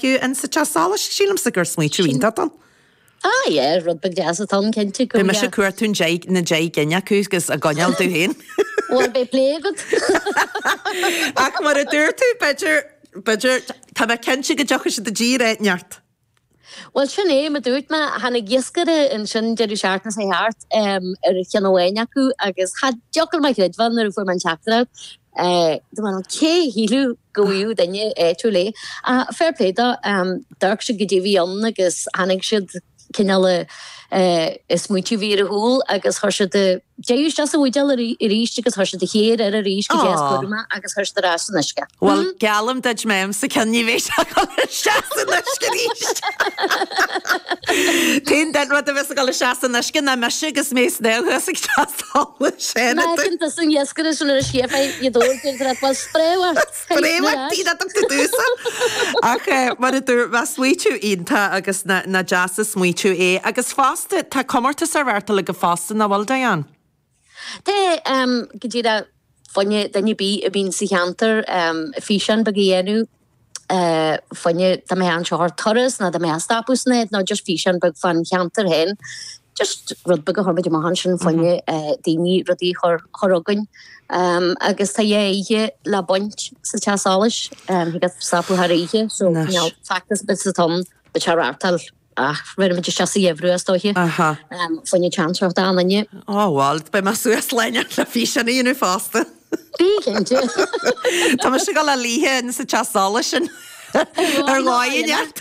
In sa teach solais, sílimse gur smaoitiú iontach ann. Ah yeah, rud beag deas atá ann cinnte. Beidh mise ag cuartú an deich, na deich gcinn acu agus á gcoinneáil domh féin. Bhuel, beidh plé agat. Ach mar a dúirt tú, b'fhéidir, b'fhéidir, tá mé cinnte go dtiocfaidh siad i dtír áit inteacht. Bhuel, sin é, mar dúirt mé, tháinig iascaire ansin deireadh seachtaine seo thart ar cheann amháin acu agus cha dtiocfadh liom a chreidbheáil nuair a fuair mé an teachtaireacht. Dúirt mé, cé a shílfeadh go bhfaigheadh duine áitiúil é? Ach fair play dó, d'amharc siad goidé a bhí ann agus tháinig siad cineál an smaoitiú a bhí ar a shúil agus chuir siad an deireadh isteach sa bhuidéal arís agus chuir siad an chéir air arís go deas cúramach agus chuir siad ar ais san uisce. Bhuel, geallaim duit má fhaighimse ceann ní bheidh sé ag dul isteach san uisce arís. T-aon duine rud a bheas ag dul isteach san uisce ná mise agus mé ag snámh thuas ag teach solais. Má fheiceann tusa an iascaire sin ar an sciath i dtóir déantar at bhfuil sprémhart. Sprémhart tí dat tú dúsa. Ach mar a dúirt mé, smaoitiú iontach agus nach deas an smaoitiú é. Agus fosta, tá comórtas á reáchtáil agaibh fosta, nach bhfuil, Diane? Tá, go díreach fá choinne duine ar bith a bhíonn sa cheantar físeán beag a dhéanamh fá choinne dá mbeifeá anseo ar turas nó dá mbeifeá ag stopadh san áit nó just físeán beag fán cheantar féin. Just rud beag a chuir muid amach ansin fá choinne daoine rudaí a chur chugainn. Agus tá dhá oíche le baint sa Teach Solais, thig leat stopadh thar oíche so feachtas beag atá ann, beidh sé á reáchtáil. Ach bhéarfaidh muid isteach sa gheimhreadh is dóiche. Aha. Fá choinne chance a thabhairt d'achan duine. Ó bhuel, beidh mé suas linn le físeán a dhéanamh fosta. Bí cinnte. Tá mise ag dul a luí sa teach solais sin ar dhóigh inteacht.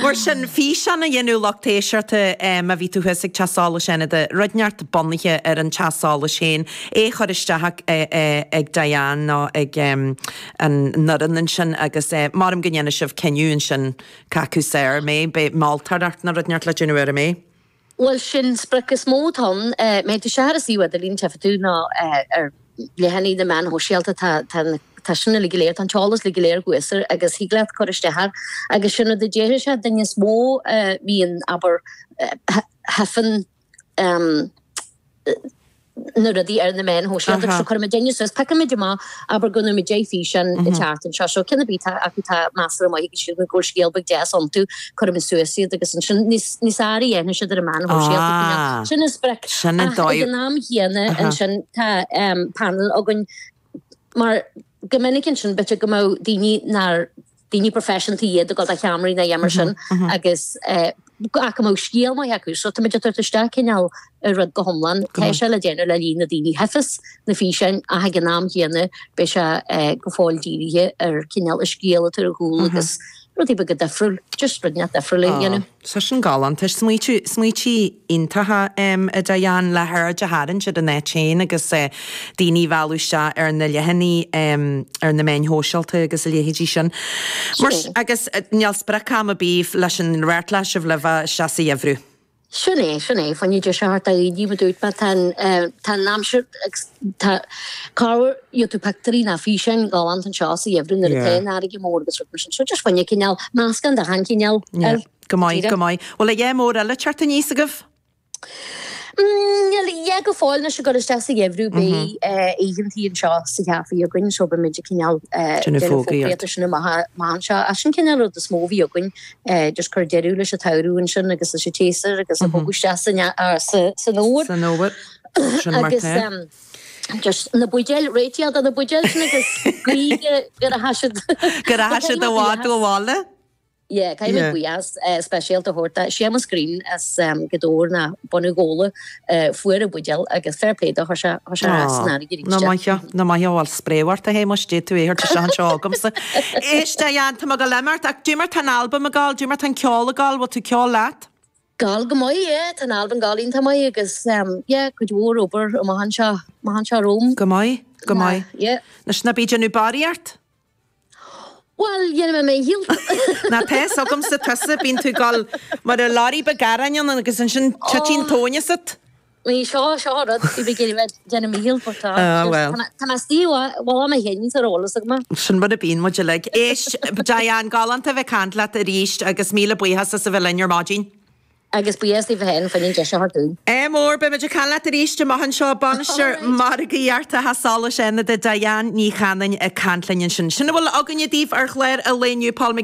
Mar sin, físeán a dhéanamh lucht éisteachta má bhí tú thuas ag Teach Solais Fhánada, rud inteacht bunaithe ar an teach solais féin, é a chur isteach ag Diane nó ag an fhoireann ansin agus maram go ndéanfaidh sibh cinneadh ansin Cé acu is fearr, an mbeidh, beidh moltóireacht nó rud inteacht le déanamh air, an mbeidh? Bhuel, sin sprioc is mó atá ann. Má théann tú isteach ar an suíomh idirlín, tchífidh tú, nó ar leathanaigh na meán shóisialta, tá, tá, tá sin uilig go léir, tá an t-eolas uilig go léir thuas air agus thig leat cur isteach air. Agus sin rud a déarfaidh sé, duine is mó a bhíonn, abair, thaifeann, na rudaí ar na meáin shóisialta so cuirfidh muidinne suas, piocfaidh muid amach, abair go ndéanfaidh muid 10 físeán an tseachtain seo, so ceann ar bith atá acu atá measartha maith agus sílim go bhfuil scéal beag deas iontu, cuirfidh muid suas iad agus ansin níos níos fearr a dhéanfaidh siad ar na meáin shóisialta cineál. Sin an sprioc. Sin an Ach dóigh. ag an am chéanna ansin tá panel againn mar go minic ansin b'fhéidir go mbeadh daoine nár daoine proifisiúnta iad ag dul do cheamaraí nó a dhath mar sin agus ach go mbeadh scéal maith acu. So tá muid ag tabhairt isteach cineál an rud go hiomlán. Tá sé le déanamh le linn na daoine a thaifeas na físeáin ach ag an am chéanna beidh sé go fóill dírithe ar cineál an scéal atá ar chúl agus rudaí beaga difriúil, just rud inteacht difriúil a dhéanamh. Tá sin galánta. Smaoitiú, smaoití iontacha a Diane, le haird a tharraingt ar an áit féin agus daoine a mhealladh isteach ar na leathanaigh ar na meáin shóisialta agus a leithéidí sin. Mar, agus níl sprioc-am ar bith leis an reáchtáil sibh le bheith isteach sa gheimhreadh. Sin é, sin é, fá choinne deis a thabhairt do dhaoine, mar dúirt mé, tá an, tá an aimsir agus tá, corruair gheobhaidh tú pictiúirí ná físeáin galánta anseo sa gheimhreadh nuair atá an fharraige mór agus rud mar sin. So just fá choinne cineál meascán de achan chineál air. Go maith, go maith. Bhfuil a dhath mór eile ag teacht aníos agaibh? Níl a dhath go fóill anois ag dul isteach sa gheimhreadh beidh oícheantaí anseo sa chaife againn so beidh muid ag cineál déanamh fógraíochta sin amach anseo. Ach sin cineál rud is mó a bhí againn just cur deireadh leis an tsamhradh ansin agus leis an tséasúr agus ag bogadh isteach san fhómhar. San fhómhar. Sin mar Agus tá. just na buidéil, réitigh do na buidéil sin agus guí go rachaidh siad. Go rachaidh siad i bhfad ó bhaile. Yeah, caithfidh muid buíochas speisialta a thabhairt do Séamus Green as Gaoth Dobhair ná bunadh Ghabhla fuair an buidéal agus fair play dó, chuir sé chuir sé ar ais san fharraige arís Ná é. maith, ná maith, bhuel spréamh ort a Shéamuis, d'fhéadfadh tú é a thabhairt isteach anseo agamsa. Éist, a Diane, tá mé ag dul imeacht ach dé mar tá an albam ag gabháil, dé mar tá an ceol ag gabháil, bhfuil tú ag ceol leat? Gabháil go maith, yeah, tá an albam ag gabháil iontach maith agus yeah, cuid mhór obair amach anseo, amach anseo romham. Go maith, go maith. Yeah. Anois ná bí ag déanamh barraíocht? Bhuel, dhéanfaidh mé mo dhícheall. Ná tá fhios agamsa tusa, bíonn tú ag dul mar a leoraí beag aráin ann agus ansin titeann tóin asat. Ní, seo, seo an rud, bhí mé ag iarraidh bheith ag déanamh mo dhícheall but tá, Ah, bhuel. tá mé istigh i bhfolach mé féin ar eolas agam. Sin mar a bíonn muid uilig. Éist, Diane, galánta a bheith ag caint leat arís agus míle buíochas as a bheith linn ar maidin. Agus buíochas daoibh féin fá choinne an deis a thabhairt dúinn. Ádh mór, beidh muid ag caint leat arís amach anseo. Bainisteoir Margaíochta Theach Solais Fhánada, Diane Ní Chanainn ag caint linn ansin. Sin a bhfuil againne daoibh ar chlár an lae inniu, Paul McGinn.